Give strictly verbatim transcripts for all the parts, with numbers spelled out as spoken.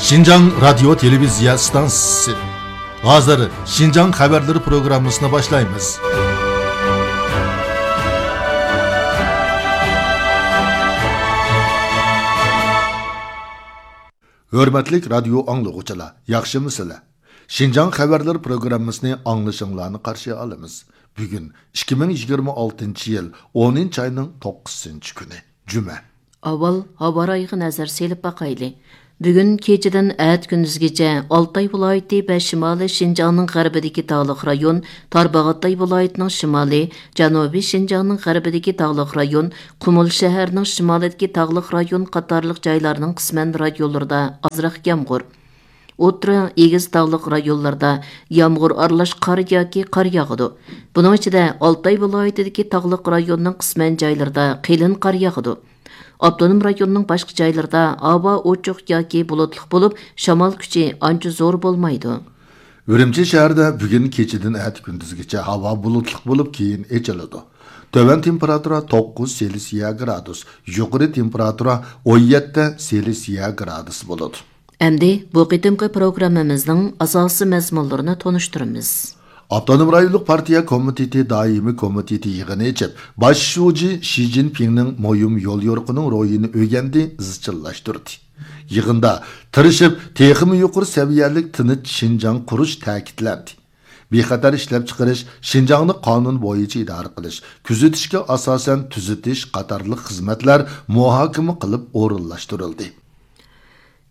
شىنجاڭ رادىيو تېلېۋىزىيە ئىستانسىسى. ھازىر شىنجاڭ خەۋەرلىرى پروگراممىسىنى باشلايمىز. ھۆرمەتلىك رادىيو ئاڭلىغۇچىلار، ياخشىمۇسىلەر؟ شىنجاڭ خەۋەرلىرى پروگراممىسىنى ئاڭلىشىڭلارنى قارشى ئالىمىز. بۈگۈن ئىككى مىڭ يىگىرمە ئالتىنچى يىل ئونىنچى ئاينىڭ توققۇزىنچى كۈنى، جۈمە. ئاۋۋال ھاۋا رايىغا نەزەر سېلىپ باقايلى. بۈگۈن كېچىدىن ئەتە كۈندۈزگىچە ئالتاي ۋىلايىتى ۋە شىمالىي شىنجاڭنىڭ غەربىدىكى تاغلىق رايون، تارباغاتاي ۋىلايىتىنىڭ شىمالى، جەنۇبىي شىنجاڭنىڭ غەربىدىكى تاغلىق رايون، قۇمۇل شەھەرنىڭ شىمالىدىكى تاغلىق رايون قاتارلىق جايلارنىڭ قىسمەن رايونلىرىدا ئازراق يامغۇر، ئوتتۇرا، ئېگىز تاغلىق رايونلاردا يامغۇر ئارىلاش قار ياكى قار ياغىدۇ. بۇنىڭ ئىچىدە ئالتاي ۋىلايىتىدىكى تاغلىق رايوننىڭ قىسمەن جايلىرىدا قېلىن قار ياغىدۇ. ئاپتونوم رايوننىڭ باشقا جايلىرىدا ھاۋا ئوچۇق ياكى بۇلۇتلۇق بولۇپ، شامال كۈچى ئانچە زور بولمايدۇ. ئۈرۈمچى شەھىرىدە بۈگۈن كېچىدىن ئەتە كۈندۈزگىچە ھاۋا بۇلۇتلۇق بولۇپ، كېيىن ئېچىلىدۇ. تۆۋەن تېمپېراتۇرا توققۇز سېلسىيە گرادۇس، يۇقىرى تېمپېراتۇرا ئون يەتتە سېلسىيە گرادۇس بولىدۇ. ئەمدى بۇ قېتىمقى پروگراممىمىزنىڭ ئاساسىي مەزمۇنلىرىنى تونۇشتۇرىمىز. ئاپتونوم رايونلۇق پارتىيە كومىتېتى دائىمىي كومىتېتى يىغىنى ئېچىپ، باش شۇجى شى جىنپىڭنىڭ مۇھىم يوليورۇقىنىڭ روھىنى ئۆگەندى، ئىزچىللاشتۇردى. يىغىندا تىرىشىپ، تېخىمۇ يۇقىرى سەۋىيەلىك تىنچ شىنجاڭ قۇرۇش تەكىتلەندى. بىخەتەر ئىشلەپچىقىرىش، شىنجاڭنى قانۇن بويىچە ئىدارە قىلىش، كۆزىتىشكە ئاساسەن تۈزىتىش قاتارلىق خىزمەتلەر مۇھاكىمە قىلىپ ئورۇنلاشتۇرۇلدى.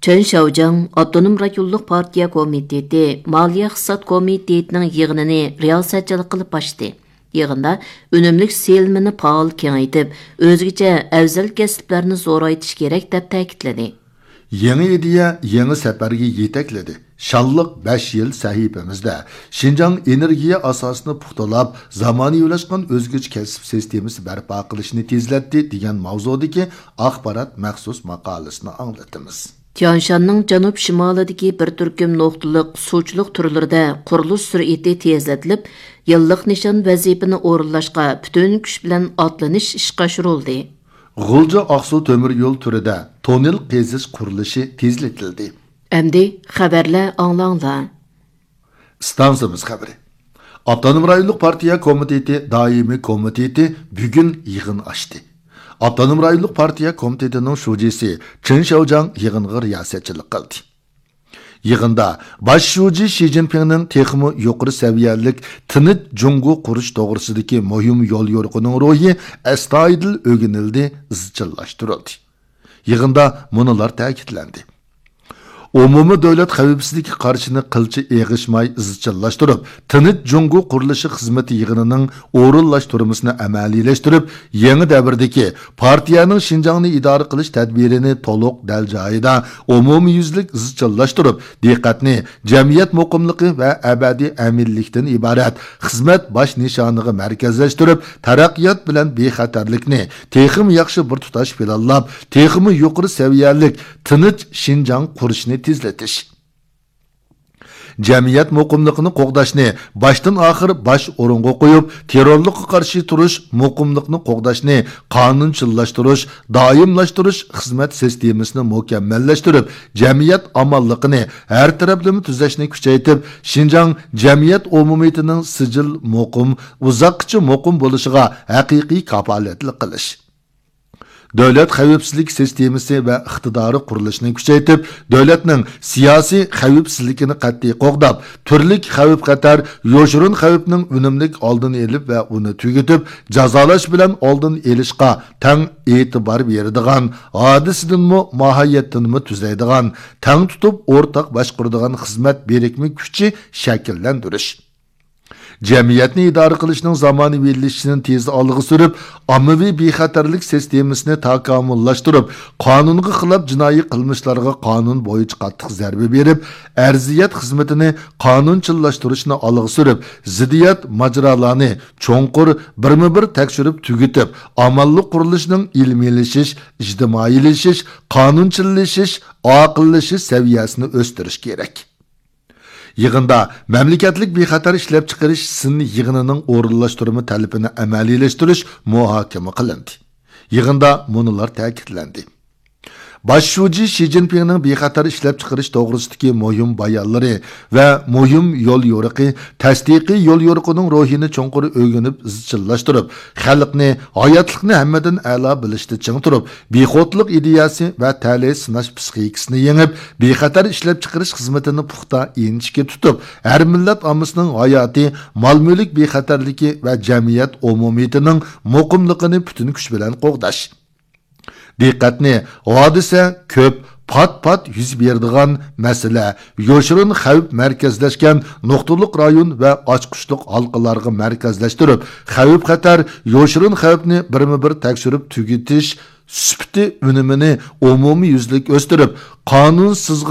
چېن شياۋجياڭ ئاپتونوم رايونلۇق پارتىيە كومىتېتى مالىيە ئىقتىساد كومىتېتىنىڭ يىغىنىنى رىياسەتچىلىك قىلىپ ئاچتى. يىغىندا ئۈنۈملۈك سېلىنمىنى پائال كېڭەيتىپ، ئۆزگىچە ئەۋزەل كەسىپلەرنى زورايتىش كېرەك، دەپ تەكىتلىدى. يېڭى ئىدىيە، يېڭى سەپەرگە يېتەكلىدى. شانلىق بەش يىل سەھىپىمىزدە شىنجاڭ ئېنېرگىيە ئاساسىنى پۇختىلاپ، زامانىۋىلاشقان ئۆزگىچە كەسىپ سىستېمىسى بەرپا قىلىشنى تېزلەتتى، دېگەن ماۋزۇدىكى ئاخبارات مەخسۇس ماقالىسىنى ئاڭلىتىمىز. تيانشاننىڭ جەنۇب شىمالىدىكى بىر تۈركۈم نۇقتىلىق سۇچىلىق تۈرلىرىدە قۇرۇلۇش سۈرئىتى تېزلىتىلىپ، يىللىق نىشان ۋەزىپىنى ئورۇنلاشقا پۈتۈن كۈچ بىلەن ئاتلىنىش ئىشقا ئاشۇرۇلدى. غۇلجا ئاقسۇ تۆمۈر يول تۈرىدە توننېل قېزىش قۇرۇلۇشى تېزلىتىلدى. ئەمدى خەۋەرلەر ئاڭلاڭلار. ئىستانسىمىز خەۋىرى. ئاپتونوم رايونلۇق پارتىيە كومىتېتى دائىمىي كومىتېتى بۈگۈن يىغىن ئاچتى. ئاپتونوم رايونلۇق پارتىيە كومىتېتىنىڭ شۇجىسى چېن شياۋجياڭ يىغىنغا رىياسەتچىلىك قىلدى. يىغىندا باش شۇجى شى جىنپىڭنىڭ تېخىمۇ يۇقىرى سەۋىيەلىك تىنچ جۇڭگو قۇرۇش توغرىسىدىكى مۇھىم يوليورۇقىنىڭ روھى ئەستايىدىل ئۆگىنىلدى، ئىزچىللاشتۇرۇلدى. يىغىندا مۇنۇلار تەكىتلەندى. ئومۇمىي دۆلەت خەۋپسىزلىكى قارىشىنى قىلچە ئېغىشماي ئىزچىللاشتۇرۇپ، تىنچ جۇڭگو قۇرۇلۇشى خىزمىتى يىغىنىنىڭ ئورۇنلاشتۇرمىسىنى ئەمەلىيلەشتۈرۈپ، يېڭى دەۋردىكى پارتىيەنىڭ شىنجاڭنى ئىدارە قىلىش تەدبىرىنى تولۇق دەل جايىدا ئومۇميۈزلۈك ئىزچىللاشتۇرۇپ، دىققەتنى جەمئىيەت مۇقىملىقى ۋە ئەبەدىي ئەمىنلىكتىن ئىبارەت خىزمەت باش نىشانىغا مەركەزلەشتۈرۈپ، تەرەققىيات بىلەن بىخەتەرلىكنى تېخىمۇ ياخشى بىر تۇتاش پىلانلاپ، تېخىمۇ يۇقىرى سەۋىيەلىك تىنچ شىنجاڭ قۇرۇشنى تېزلىتىش. جەمئىيەت مۇقىملىقىنى قوغداشنى باشتىن ئاخىر باش ئورۇنغا قويۇپ، تېررورلۇققا قارشى تۇرۇش، مۇقىملىقنى قوغداشنى قانۇنچىللاشتۇرۇش، دائىملاشتۇرۇش خىزمەت سىستېمىسىنى مۇكەممەللەشتۈرۈپ، جەمئىيەت ئامانلىقىنى ھەر تەرەپلىمە تۈزەشنى كۈچەيتىپ، شىنجاڭ جەمئىيەت ئومۇمىيىتىنىڭ سىجىل مۇقىم، ئۇزاققىچە مۇقىم بولۇشىغا ھەقىقىي كاپالەتلىك قىلىش. دۆلەت خەۋپسىزلىك سىستېمىسى ۋە ئىقتىدارى قۇرۇلۇشىنى كۈچەيتىپ، دۆلەتنىڭ سىياسىي خەۋپسىزلىكىنى قەتئىي قوغداپ، تۈرلۈك خەۋپ-خەتەر، يوشۇرۇن خەۋپنىڭ ئۈنۈملۈك ئالدىنى ئېلىپ ۋە ئۇنى تۈگىتىپ، جازالاش بىلەن ئالدىنى ئېلىشقا تەڭ ئېتىبار بېرىدىغان، ھادىسىدىنمۇ، ماھىيەتتىنمۇ تۈزەيدىغان، تەڭ تۇتۇپ ئورتاق باشقۇرىدىغان خىزمەت بىرىكمە كۈچى شەكىللەندۈرۈش. جەمئىيەتنى ئىدارە قىلىشنىڭ زامانىۋىلىشىشىنى تېز ئالغا سۈرۈپ، ئاممىۋى بىخەتەرلىك سىستېمىسىنى تاكامۇللاشتۇرۇپ، قانۇنغا خىلاپ جىنايى قىلمىشلارغا قانۇن بويىچە قاتتىق زەربە بېرىپ، ئەرزىيەت خىزمىتىنى قانۇنچىللاشتۇرۇشنى ئالغا سۈرۈپ، زىددىيەت ماجىرالارنى چوڭقۇر، بىرمۇ بىر تەكشۈرۈپ تۈگىتىپ، ئامانلىق قۇرۇلۇشىنىڭ ئىلمىيلىشىش، ئىجتىمائىيلىشىش، قانۇنچىللىشىش، ئاقىللىشىش سەۋىيەسىنى ئۆستۈرۈش كېرەك. يىغىندا مەملىكەتلىك بىخەتەر ئىشلەپچىقىرىش سىن يىغىنىنىڭ ئورۇنلاشتۇرما تەلىپىنى ئەمەلىيلەشتۈرۈش مۇھاكىمە قىلىندى. يىغىندا مۇنۇلار تەكىتلەندى. باش شۇجى شى جىنپىڭنىڭ بىخەتەر ئىشلەپچىقىرىش توغرىسىدىكى مۇھىم بايانلىرى ۋە مۇھىم يول يورۇقى، تەستىقىي يول يورۇقىنىڭ روھىنى چوڭقۇر ئۆگىنىپ ئىزچىللاشتۇرۇپ، خەلقنى، ھاياتلىقنى ھەممىدىن ئەلا بىلىشتە چىڭ تۇرۇپ، بىخۇدلۇق ئىدىيەسى ۋە تەلەي سىناش پىسخىكىسىنى يېڭىپ، بىخەتەر ئىشلەپچىقىرىش خىزمىتىنى پۇختا، ئىنچىكە تۇتۇپ، ھەر مىللەت ئاممىسىنىڭ ھاياتى، مال-مۈلۈك بىخەتەرلىكى ۋە جەمئىيەت ئومۇمىيىتىنىڭ مۇقىملىقىنى پۈتۈن كۈچ بىلەن قوغداش. دىققەتنى ھادىسە كۆپ، پات-پات يۈز بېرىدىغان مەسىلە، يوشۇرۇن خەۋپ مەركەزلەشكەن نۇقتىلىق رايون ۋە ئاچقۇچلۇق ھالقىلارغا مەركەزلەشتۈرۈپ، خەۋپ-خەتەر، يوشۇرۇن خەۋپنى بىرمۇبىر تەكشۈرۈپ تۈگىتىش سۈپىتى ئۈنۈمىنى ئومۇميۈزلۈك ئۆستۈرۈپ، قانۇنسىزغا